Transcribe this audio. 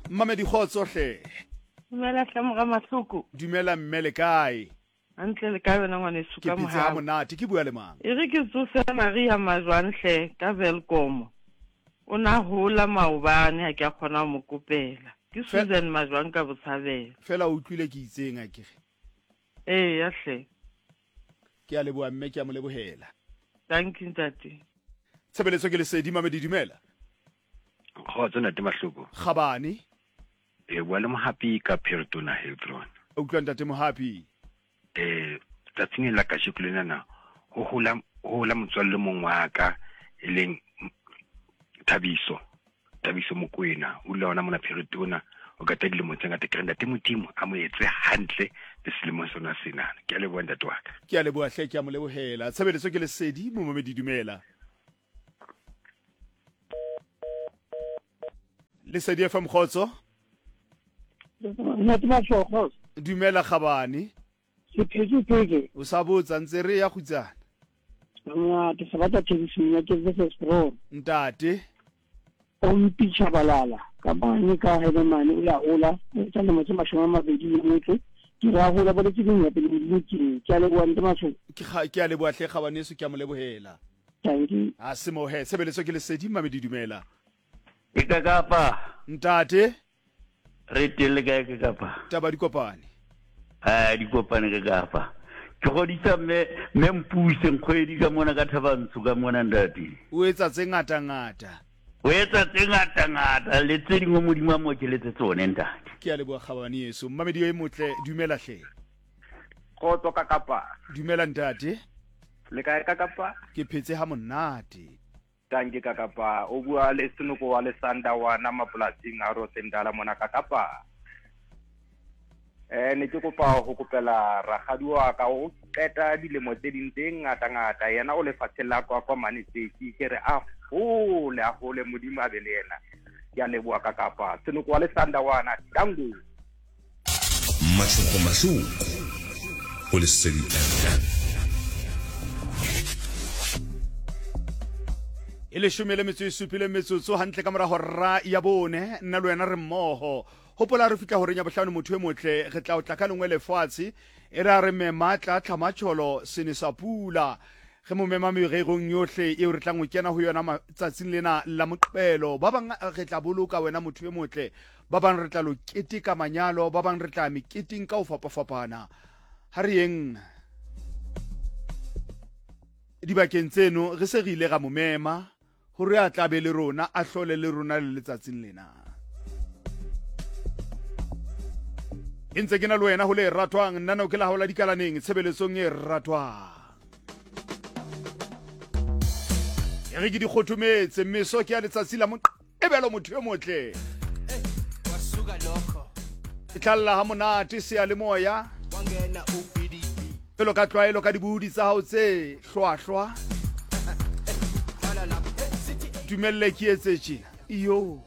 Mmamedi kgotso hle. Dumela hle mora Mahloko. Dumela mme le kae? Hantle le kae wena ngwaneso Ke ka phetse ha mohau. monate. Ke bua le mang? E re ke tsose Maria Majwang hle ka Welkom. O na hola maobane ha ke a kgona ho mo kopela. Ke Fe- Susan Majwang ka Botshabelo. Fela o utlwile ke itseng akere. Eya hle. Ke a leboha mme ke a mo lebohela. Thank you ntate. Tshebeletso ke lesedi mamedi dumela. Kgotso ntate Mahloko. Kgabane. E bua le Mohapi ka Pheretona Hiltron. A utlwa ntate Mohapi. Eh tsatsing la kasheko lenana ho hola ho hola motswalle mong wa ka e leng Thabiso Thabiso Mokoena o dula hona mona Pheretona o kata dilemo tse ngata ke re ntate Modimo a mo etse hantle le selemong sona sena ke a leboha ntate wa ka. Ke a leboha hle ke a mo lebohela. Tshebeletso ke lesedi momamedi dumela. Lesedi FM kgotso. Ntate Mashoo kgotso. Dumela Kgabane. Ke phetse phetse. O sa botsa ntse re ya kgutsana. Ntate se batla Thabiso Monyake versus Bro. Ntate. Ompi Tshabalala ka mane ka Helemane o ya hola o etsa lemo tse 28 ke re a hola boletse ding ya pele modimo ke ke a leboha ntate Mashoo. Ke ga ke a leboha hle Kgabaneso ke a mo lebohela. Tanki. A se mo he tshebeletso ke lesedi mmamedi dumela. E ka kapa. Ntate. Re teng le kae ke kapa? Taba di kopane. Eh di kopane ke kapa. Ke godisa mme mme mpuse nkgwedi ka mona ka Thabantsho ka mona ntate. O etsa tse ngata ngata. O etsa tse ngata ngata le tse dingwe Modimo a mo okeletse tsone ntate. Ke a leboha kgabane yeso. Mmamedi yo e motle dumela hle. Kgotso ka kapa. Dumela ntate. Le kae ka kapa? Ke phetse ha monate. Tanki ka kapa o bua le Senoko wa Lesandawana mapolasing a Rosendala mona ka kapa. Eh ne ke kopa ho kopela rakgadi wa ka o qeta dilemo tse ding tse ngata ngata yena o lefatsheng la kwa kwa mane tseki ke re a hole a hole modimo a be le yena ke a leboha ka kapa Senoko wa Lesandawana tango. Mahloko Mahloko go Lesedi FM. E leshome le metso e supile metsotso hantle ka morago ra ya bone nna le wena re mmogo gopola re fitlha goreng ya bohlano motho e motle re tla o tla ka lengwe lefatshe e re a re mema tla tlhamatšholo sene sa pula ge mo mema mererong yohle eo re tlang go kena go yona matsatsing lena la moqebelo ba bang re tla boloka wena motho e motle Ba bang re tla lo keteka manyalo, ba bang re tla meketeng ka ho fapafapana. Ha re yeng dibakeng tseno re se re ile ra mo mema hore a tla be le rona, a hlole le rona le letsatsing lena. E ntse ke na le wena ho le ratwang, nna no ke la hao la dikalaneng tshebeletsong e ratwang. E re ke di kgothometse meso ke ya letsatsi la e bjalo motho yo motle e tlalla ga monate seyalemoya pelo ka tlwaelo ka dibudi tsa gago tse hlwahlwa dumelele ke etse tjena iyo.